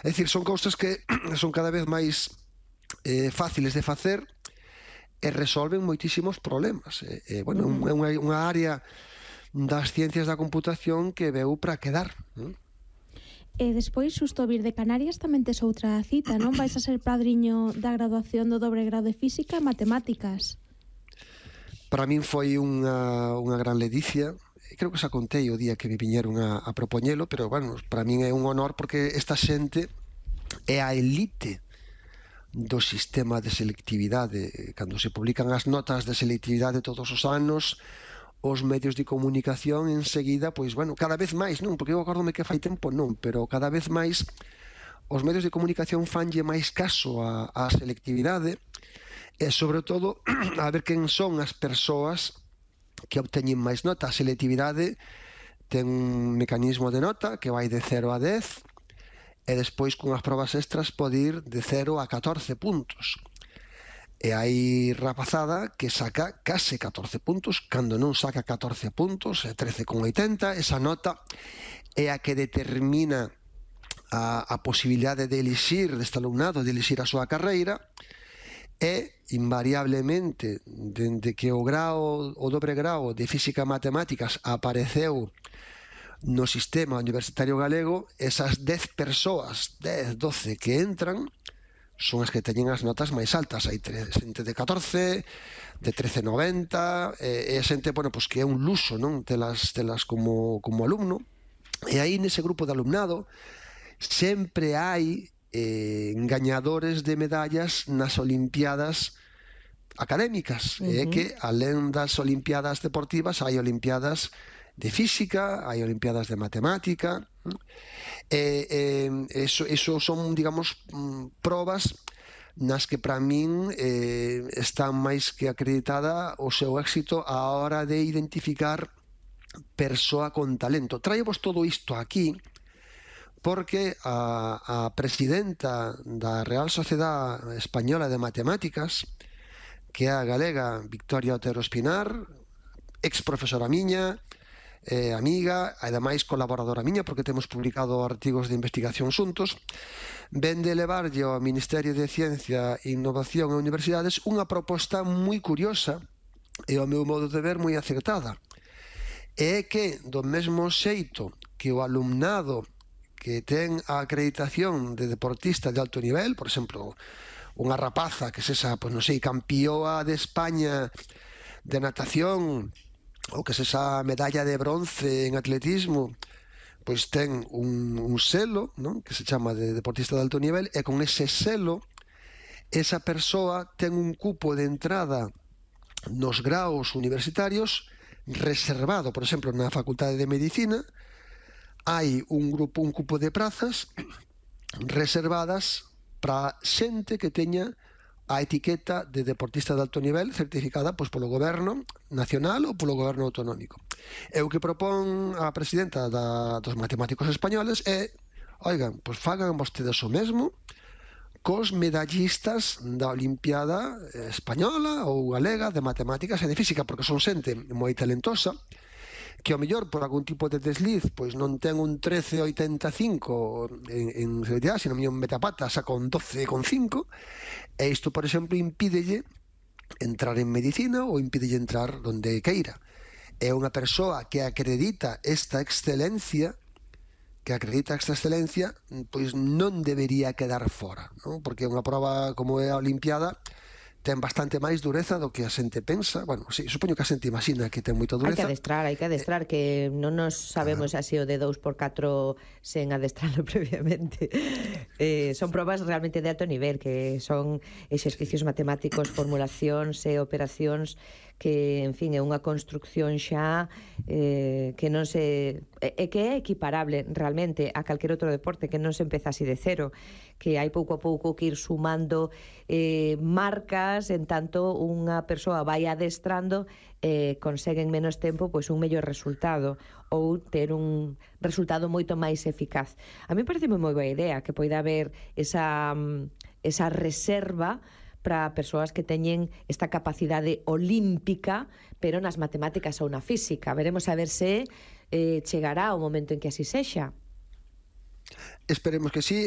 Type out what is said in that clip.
É dicir, son cousas que son cada vez máis fáciles de facer e resolven moitísimos problemas. Bueno, é unha área das ciencias da computación que veu para quedar. E despois, xusto vir de Canarias, tamén tes outra cita, non? Vais a ser padriño da graduación do dobre grau de Física e Matemáticas. Para min foi unha gran ledicia. Creo que xa contei o día que me viñeron a propoñelo, pero, bueno, para min é un honor porque esta xente é a elite do sistema de selectividade. Cando se publican as notas de selectividade todos os anos, os medios de comunicación enseguida, pois, bueno, cada vez máis, non? Porque eu acórdome que fai tempo non, pero cada vez máis os medios de comunicación fanlle máis caso á selectividade e, sobre todo, a ver quen son as persoas que obteñen máis nota. A selectividade ten un mecanismo de nota que vai de 0 a 10 e despois con as probas extras pode ir de 0 a 14 puntos. E hai rapazada que saca case 14 puntos, cando non saca 14 puntos, 13,80, esa nota é a que determina a posibilidade de elixir deste alumnado, de elixir a súa carreira, e invariablemente, dende que o dobre grau de Física e Matemáticas apareceu no sistema universitario galego, esas 10 persoas, 10, 12 que entran, son as que teñen as notas máis altas. Hai xente de 14, de 13,90, e xente, bueno, pois que é un luxo, non? Telas como alumno. E aí nese grupo de alumnado sempre hai gañadores de medallas nas olimpiadas académicas. É que, alén das olimpiadas deportivas, hai olimpiadas de física, hai olimpiadas de matemática. Eso son, digamos, probas nas que para min está máis que acreditada o seu éxito á hora de identificar persoa con talento. Traivos todo isto aquí porque a presidenta da Real Sociedade Española de Matemáticas, que é a galega Victoria Otero Espinar, ex profesora miña, amiga, ademais colaboradora miña, porque temos publicado artigos de investigación xuntos, ven de levarlle ao Ministerio de Ciencia, Innovación e Universidades unha proposta moi curiosa e, ao meu modo de ver, moi acertada. É que, do mesmo xeito que o alumnado que ten a acreditación de deportista de alto nivel, por exemplo, unha rapaza que sexa, pois non sei, campioa de España de natación, ou que sexa medalla de bronce en atletismo, pois ten un selo, non? Que se chama de deportista de alto nivel, e con ese selo esa persoa ten un cupo de entrada nos graos universitarios reservado. Por exemplo, na Facultade de Medicina hai un cupo de prazas reservadas para xente que teña a etiqueta de deportista de alto nivel certificada pois polo goberno nacional ou polo goberno autonómico. E o que propón a presidenta dos matemáticos españoles é: oigan, pois fagan vostedes o mesmo cos medallistas da Olimpiada española ou galega de matemáticas e de física, porque son xente moi talentosa que ao mellor por algún tipo de desliz pois non ten un 13,85 en selectividade, sino un metapata saca un 12,5, e isto, por exemplo, impídelle entrar en medicina ou impídelle entrar onde queira. É unha persoa que acredita esta excelencia, pois non debería quedar fora, non? Porque unha proba como é a Olimpiada ten bastante máis dureza do que a xente pensa. Bueno, sí, supoño que a xente imagina que ten moita dureza. Hai que adestrar, que non nos sabemos así o de 2x4 sen adestrarlo previamente. Son probas realmente de alto nivel, que son exercicios matemáticos, formulacións e operacións que, en fin, é unha construcción xa que non se... que é equiparable realmente a calquer outro deporte, que non se empeza así de cero, que hai pouco a pouco que ir sumando marcas, en tanto unha persoa vai adestrando e consegue en menos tempo pois un mellor resultado ou ter un resultado moito máis eficaz. A mí parece moi boa idea que poida haber esa reserva para persoas que teñen esta capacidade olímpica, pero nas matemáticas ou na física. Veremos a ver se chegará o momento en que así sexa. Esperemos que sí.